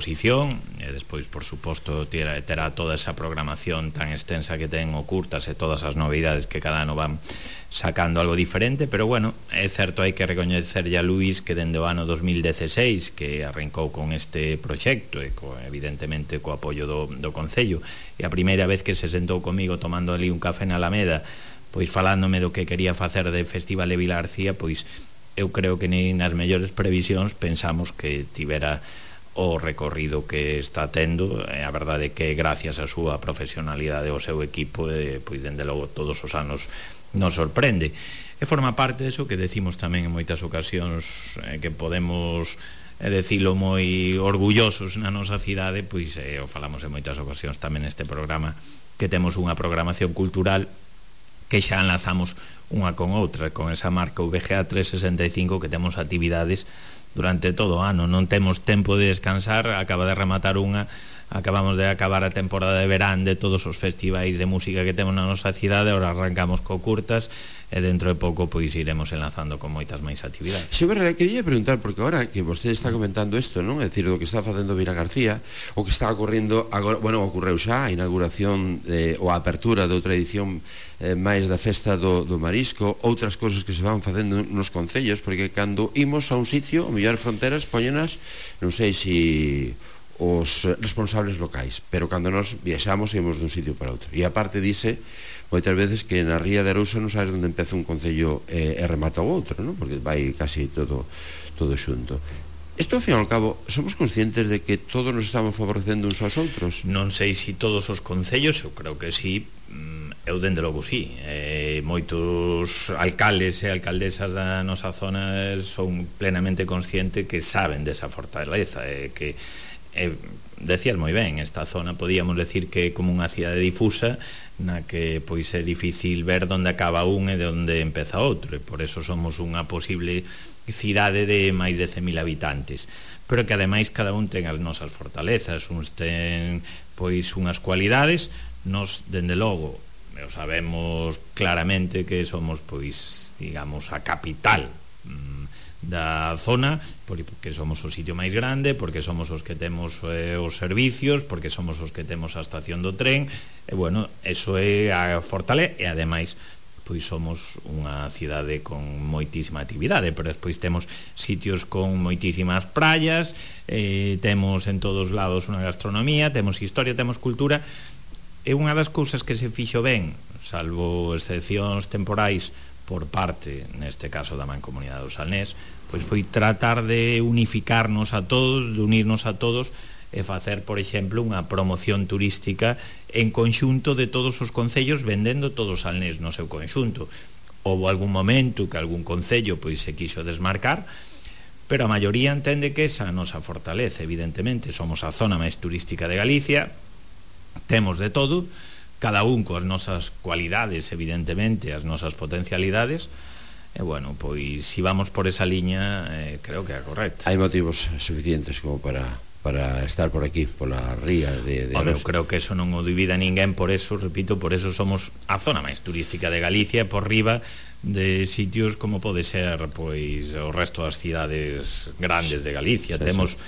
exposición, e despois, por suposto, terá toda esa programación tan extensa que ten o Curtas e todas as novidades que cada ano van sacando algo diferente, pero bueno, é certo, hai que recoñecerlle a Luís que dende o ano 2016 que arrancou con este proxecto e evidentemente co apoio do Concello, e a primeira vez que se sentou comigo tomando ali un café na Alameda, pois falándome do que quería facer de Festival de Vilarcía, pois eu creo que nin nas mellores previsións pensamos que tivera o recorrido que está tendo. A verdade é que gracias á súa profesionalidade, ao seu equipo, pois dende logo todos os anos nos sorprende, e forma parte deso que decimos tamén en moitas ocasións, que podemos decilo moi orgullosos na nosa cidade, pois o falamos en moitas ocasións tamén neste programa, que temos unha programación cultural que xa enlazamos unha con outra, con esa marca VGA 365, que temos actividades durante todo o ano, non temos tempo de descansar. Acaba de rematar acabamos de acabar a temporada de verán de todos os festivais de música que temos na nosa cidade, ahora arrancamos co Curtas, e dentro de pouco pois iremos enlazando con moitas máis actividades. Sí, verdade, quería preguntar, porque agora que vostede está comentando isto, non? É dicir, do que está facendo Vila García, o que está ocorrendo agora, bueno, ocorreu xa a inauguración ou a apertura de outra edición máis da festa do marisco, outras cousas que se van facendo nos concellos, porque cando imos a un sitio, o mellor fronteras póñenas, non sei se os responsables locais, pero cando nos viaxamos ímos dun sitio para outro, e aparte dice moitas veces que na ría de Arousa non sabes onde empeza un concello e remata o outro, non? Porque vai casi todo xunto. Isto, ao fin e ao cabo, somos conscientes de que todos nos estamos favorecendo uns aos outros? Non sei se todos os concellos, eu creo que sí, eu dende logo sí. Moitos alcaldes e alcaldesas da nosa zona son plenamente conscientes que saben desa fortaleza, que decías moi ben, esta zona podíamos decir que é como unha cidade difusa na que pois é difícil ver onde acaba un e de onde empeza outro, e por eso somos unha posible cidade de máis de 100.000 habitantes, pero que ademais cada un ten as nosas fortalezas, uns ten pois unhas cualidades. Nos, dende logo, sabemos claramente que somos pois, digamos, a capital da zona, porque somos o sitio máis grande, porque somos os que temos os servicios, porque somos os que temos a estación do tren, e bueno, eso é a fortaleza, e ademais pois somos unha cidade con moitísima actividade, pero despois temos sitios con moitísimas praias, temos en todos lados unha gastronomía, temos historia, temos cultura, e unha das cousas que se fixo ben, salvo excepcións temporais por parte, neste caso da Mancomunidade do Salnés, pois foi tratar de unificarnos a todos, de unirnos a todos, e facer, por exemplo, unha promoción turística en conxunto de todos os concellos, vendendo todo o Salnés no seu conxunto. Houve algún momento que algún concello pois se quiso desmarcar, pero a maioría entende que esa nosa fortaleza, evidentemente, somos a zona máis turística de Galicia, temos de todo, cada un coas nosas cualidades, evidentemente, as nosas potencialidades, e bueno, pois si vamos por esa liña, creo que é correcta. Hai motivos suficientes como para estar por aquí, pola ría de eu creo que eso non o dubida ninguén, por eso, repito, por eso somos a zona máis turística de Galicia, por riba de sitios como pode ser pois o resto das cidades grandes de Galicia. Temos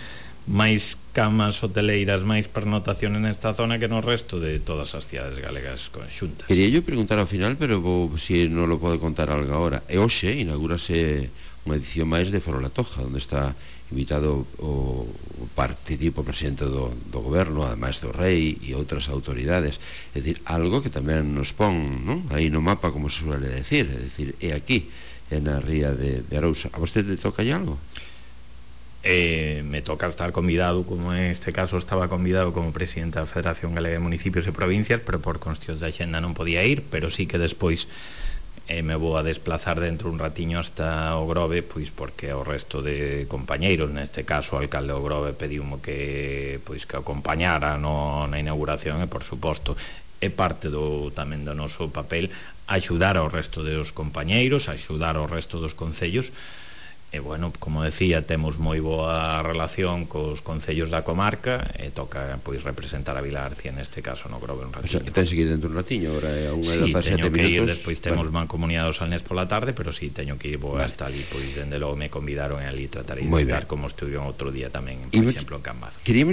máis camas hoteleiras, máis pernotaciones nesta zona que no resto de todas as cidades galegas conxuntas. Quería yo preguntar ao final, pero si non lo pode contar algo agora. E hoxe inaugúrase unha edición máis de Foro La Toja, onde está invitado o presidente do goberno, ademais do rei e outras autoridades. É dicir, algo que tamén nos pon, non? Aí no mapa, como se suele decir, é dicir, é aquí, é na ría de Arousa. A vostede toca algo? Me toca estar convidado, como en este caso estaba convidado como presidente da Federación Galega de Municipios e Provincias, pero por cuestións de axenda non podía ir, pero sí que despois me vou a desplazar dentro un ratiño hasta o Grove, pois porque o resto de compañeiros, neste caso o alcalde do Grove pediumo que acompañara na inauguración, e por suposto é parte tamén do noso papel axudar ao resto dos compañeiros, axudar ao resto dos concellos, bueno, como decía, temos moi boa relación cos concellos da comarca e toca pois representar a Vila García neste caso no Grove un ratiño. O sea, que tense que ir dentro un ratiño, ahora é unha sí, das 7 teño que minutos. Ir, despois temos mancomunidade do Salnés pola tarde, pero sí, teño que ir hasta ali, pois dende logo me convidaron e ali tratarei de estar como estuve outro día tamén, por exemplo, en Cambados. Queríamos